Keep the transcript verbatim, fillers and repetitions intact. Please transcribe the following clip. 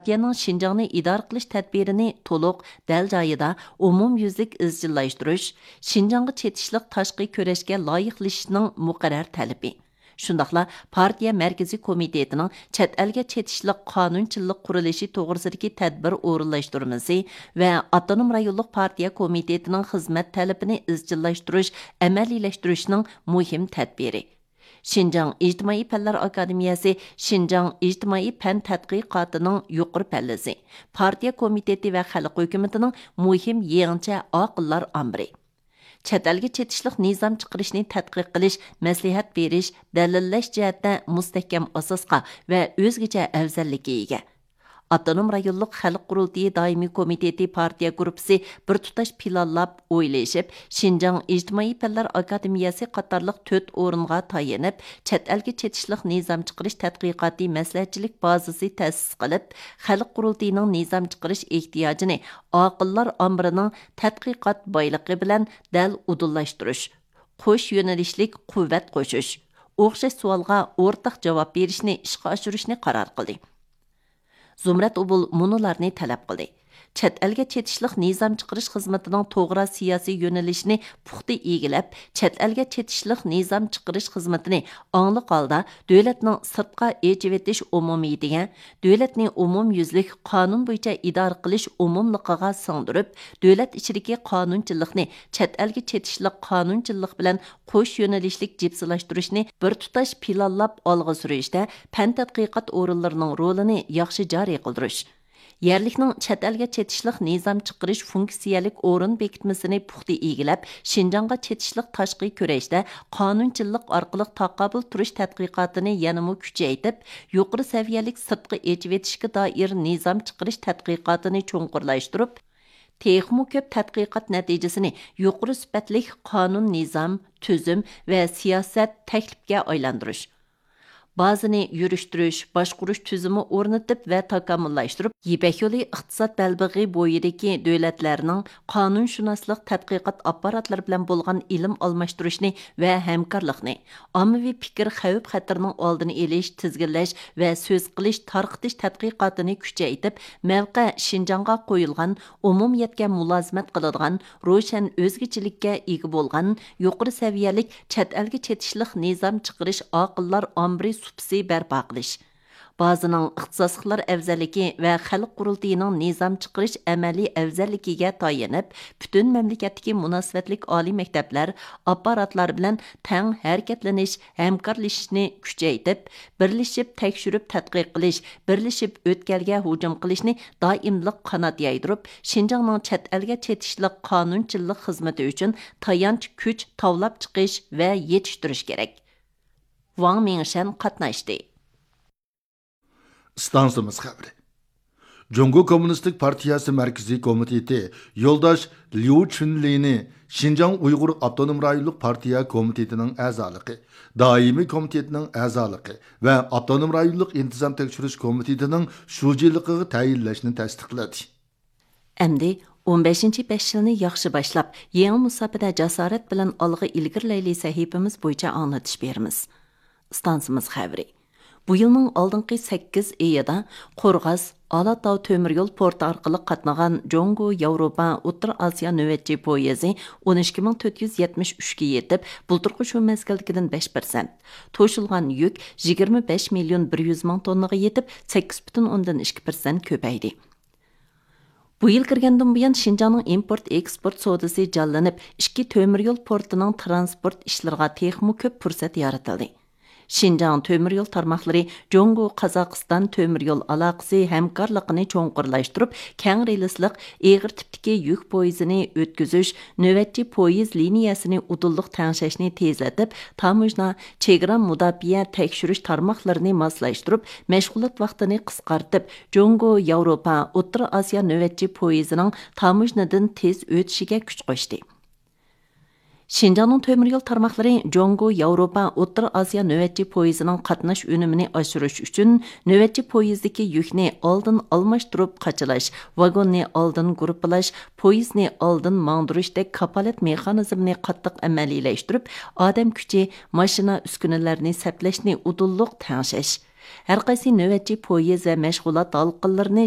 پارتىيەنىڭ شىنجاڭنى ئىدارە قىلىش تەدبىرىنى تولۇق، دەل جايىدا، ئومۇميۈزلۈك ئىزچىللاشتۇرۇش، شىنجاڭغا چېتىشلىق تاشقى كۈرەشكە لايىقلىشىشنىڭ مۇقەررەر تەلىپى. شۇنداقلا پارتىيە مەركىزىي كومىتېتىنىڭ چەت ئەلگە چېتىشلىق قانۇنچىلىق قۇرۇلۇشى توغرىسىدىكى تەدبىر ئورۇنلاشتۇرمىسى ۋە ئاپتونوم رايونلۇق پارتىيە كومىتېتىنىڭ خىزمەت تەلىپىنى ئىزچىللاشتۇرۇش، ئەمەلىيلەشتۈرۈشنىڭ مۇھىم تەدبىرى. شىنجاڭ ئىجتىمائىي پەنلەر ئاكادېمىيەسى شىنجاڭ ئىجتىمائىي پەن تەتقىقاتىنىڭ يۇقىرى پەللىسى، پارتىيە كومىتېتى ۋە خەلق ھۆكۈمىتىنىڭ مۇھىم يېڭىچە ئاقىللار ئامبىرى. چەت ئەلگە چېتىشلىق نىزام چىقىرىشنى تەتقىق قىلىش، مەسلىھەت بېرىش، دەلىللەش جەھەتتە مۇستەھكەم ئاساسقا ۋە ئۆزگىچە ئەۋزەللىككە ئىگە. ئاپتونوم رايونلۇق خەلق قۇرۇلتىيى دائىمىي كومىتېتى پارتىيە گۇرۇپپىسى بىر تۇتاش پىلانلاپ، ئويلىشىپ، شىنجاڭ ئىجتىمائىي پەنلەر ئاكادېمىيەسى قاتارلىق تۆت ئورۇنغا تايىنىپ، چەت ئەلگە چېتىشلىق نىزام چىقىرىش تەتقىقاتى مەسلىھەتچىلىك بازىسى تەسىس قىلىپ، خەلق قۇرۇلتىيىنىڭ نىزام چىقىرىش ئېھتىياجىنى ئاقىللار ئامبىرىنىڭ تەتقىقات بايلىقى بىلەن دەل ئۇدۇللاشتۇرۇش، قوش يۆنىلىشلىك قۇۋۋەت قوشۇش، ئوخشاش سوئالغا ئورتاق جاۋاب بېرىشنى ئىشقا ئاشۇرۇشنى قارار قىلدى. زۇمرەت ئوبۇل مۇنۇلارنى تەلەپ قىلدى: چەت ئەلگە چېتىشلىق نىزام چىقىرىش خىزمىتىنىڭ توغرا سىياسىي يۆنىلىشىنى پۇختا ئىگىلەپ، چەت ئەلگە چېتىشلىق نىزام چىقىرىش خىزمىتىنى ئاڭلىق ھالدا دۆلەتنىڭ سىرتقا ئېچىۋېتىش ئومۇمىيىتىگە، دۆلەتنى ئومۇميۈزلۈك قانۇن بويىچە ئىدارە قىلىش ئومۇملۇقىغا سىڭدۈرۈپ، دۆلەت ئىچىدىكى قانۇنچىلىقنى چەت ئەلگە چېتىشلىق قانۇنچىلىق بىلەن قوش يۆنىلىشلىك جىپسىلاشتۇرۇشنى بىر تۇتاش پىلانلاپ ئالغا سۈرۈشتە پەن تەتقىقات ئورۇنلىرىنىڭ رولىنى ياخشى جارى قىلدۇرۇش، يەرلىكنىڭ چەت ئەلگە چېتىشلىق نىزام چىقىرىش فۇنكسىيەلىك ئورۇن بېكىتمىسىنى پۇختا ئىگىلەپ، شىنجاڭغا چېتىشلىق تاشقى كۈرەشتە قانۇنچىلىق ئارقىلىق تاقابىل تۇرۇش تەتقىقاتىنى يەنىمۇ كۈچەيتىپ، يۇقىرى سەۋىيەلىك سىرتقا ئېچىۋېتىشكە دائىر نىزام چىقىرىش تەتقىقاتىنى چوڭقۇرلاشتۇرۇپ، تېخىمۇ كۆپ تەتقىقات نەتىجىسىنى يۇقىرى سۈپەتلىك قانۇن، نىزام، تۈزۈم ۋە سىياسەت، تەكلىپكە ئايلاندۇرۇش، بازىنى يۈرۈشتۈرۈش، باشقۇرۇش تۈزۈمى ئورنىتىپ ۋە تاكامۇللاشتۇرۇپ، يىپەك يولى ئىقتىساد بەلبېغى بويىدىكى دۆلەتلەرنىڭ قانۇنشۇناسلىق تەتقىقات ئاپپاراتلىرى بىلەن بولغان ئىلىم ئالماشتۇرۇشنى ۋە ھەمكارلىقنى، ئاممىۋى پىكىر خەۋپ-خەتىرىنىڭ ئالدىنى ئېلىش، تىزگىنلەش ۋە سۆز قىلىش، تارقىتىش تەتقىقاتىنى كۈچەيتىپ، مەۋقە شىنجاڭغا قويۇلغان، ئومۇمىيەتكە مۇلازىمەت قىلىدىغان، روشەن ئۆزگىچىلىككە ئىگە بولغان، يۇقىرى سەۋىيەلىك چەت ئەلگە چېتىشلىق نىزام چىقىرىش ئاقىللار ئامبىرى سۇپىسى بەرپا قىلىش. بازىنىڭ ئىختىساسلىقلار ئەۋزەللىكى ۋە خەلق قۇرۇلتىيىنىڭ نىزام چىقىرىش ئەمەلىي ئەۋزەللىكىگە تايىنىپ، پۈتۈن مەملىكەتتىكى مۇناسىۋەتلىك ئالىي مەكتەپلەر، ئاپپاراتلار بىلەن تەڭ ھەرىكەتلىنىش، ھەمكارلىشىشنى كۈچەيتىپ، بىرلىشىپ تەكشۈرۈپ تەتقىق قىلىش، بىرلىشىپ ئۆتكەلگە ھۇجۇم قىلىشنى دائىملىق قانات يايدۇرۇپ، شىنجاڭنىڭ چەت ئەلگە چېتىشلىق قانۇنچىلىق خىزمىتى ئۈچۈن تايانچ كۈچ تاۋلاپ چىقىش ۋە يېتىشتۈرۈش كېرەك. ۋاڭ مىڭشەن قاتناشتى. ئىستانسىمىز خەۋىرى. جۇڭگو كوممۇنىستىك پارتىيەسى مەركىزىي كومىتېتى يولداش ليۇ چۈنلىنى شىنجاڭ ئۇيغۇر ئاپتونوم رايونلۇق پارتىيە كومىتېتىنىڭ ئەزالىقى، دائىمىي كومىتېتىنىڭ ئەزالىقى ۋە ئاپتونوم رايونلۇق ئىنتىزام تەكشۈرۈش كومىتېتىنىڭ شۇجىلىقىغا تەيىنلەشنى تەستىقلىدى. ئەمدى ئون بەشىنچى بەش يىلنى ياخشى باشلاپ، يېڭى مۇساپىدە جاسارەت بىلەن ئالغا ئىلگىرىلەيلى سەھىپىمىز بويىچە ئاڭلىتىش بېرىمىز. ئىستانسىمىز خەۋىرى. بۇ يىلنىڭ ئالدىنقى سەككىز ئېيىدا قورغاس، ئالاتاۋ تۆمۈر يول پورتى ئارقىلىق قاتنىغان جۇڭگو ياۋروپا ئوتتۇرا ئاسىيا نۆۋەتچى پويىزى ئون ئىككى مىڭ تۆت يۈز يەتمىش ئۈچكە يېتىپ، بۇلتۇرقى شۇ مەزگىلدىكىدىن بەش پىرسەنت، توشۇلغان يۈك يىگىرمە بەش مىليون بىر يۈز مىڭ توننىغا يېتىپ، سەككىز پۈتۈن ئوندىن ئىككى پىرسەنت كۆپەيدى. بۇ يىل كىرگەندىن بۇيان، شىنجاڭنىڭ ئىمپورت ئېكسپورت سودىسى جانلىنىپ، ئىككى تۆمۈر يول پورتىنىڭ تىرانسپورت ئىشلىرىغا تېخىمۇ كۆپ پۇرسەت يارىتىلدى. شىنجاڭ تۆمۈر يول تارماقلىرى جۇڭگو قازاقىستان تۆمۈر يول ئالاقىسى ھەمكارلىقىنى چوڭقۇرلاشتۇرۇپ، كەڭ رېلىسلىق ئېغىر تىپتىكى يۈك پويىزىنى ئۆتكۈزۈش، نۆۋەتچى پويىز لىنىيەسىنى ئۇدۇللۇق تەڭشەشنى تېزلىتىپ، تاموژنا، چېگرا مۇداپىئە تەكشۈرۈش تارماقلىرىنى ماسلاشتۇرۇپ، مەشغۇلات ۋاقتىنى قىسقارتىپ، جۇڭگو ياۋروپا ئوتتۇرا ئاسىيا نۆۋەتچى پويىزىنىڭ تاموژنىدىن تېز ئۆتۈشىگە كۈچ قوشتى. شىنجاڭنىڭ تۆمۈر يول تارماقلىرى جۇڭگو ياۋروپا ئوتتۇرا ئاسىيا نۆۋەتچى پويىزىنىڭ قاتناش ئۈنۈمىنى ئاشۇرۇش ئۈچۈن، نۆۋەتچى پويىزدىكى يۈكنى ئالدىن ئالماشتۇرۇپ قاچىلاش، ۋاگوننى ئالدىن گۇرۇپپىلاش، پويىزنى ئالدىن ماڭدۇرۇشتەك كاپالەت مېخانىزمىنى قاتتىق ئەمەلىيلەشتۈرۈپ، ئادەم كۈچى، ماشىنا، ئۈسكۈنىلەرنى سەپلەشنى ئۇدۇللۇق تەڭشەش، ھەرقايسى نۆۋەتچى پويىز ۋە مەشغۇلات ھالقىلىرىنى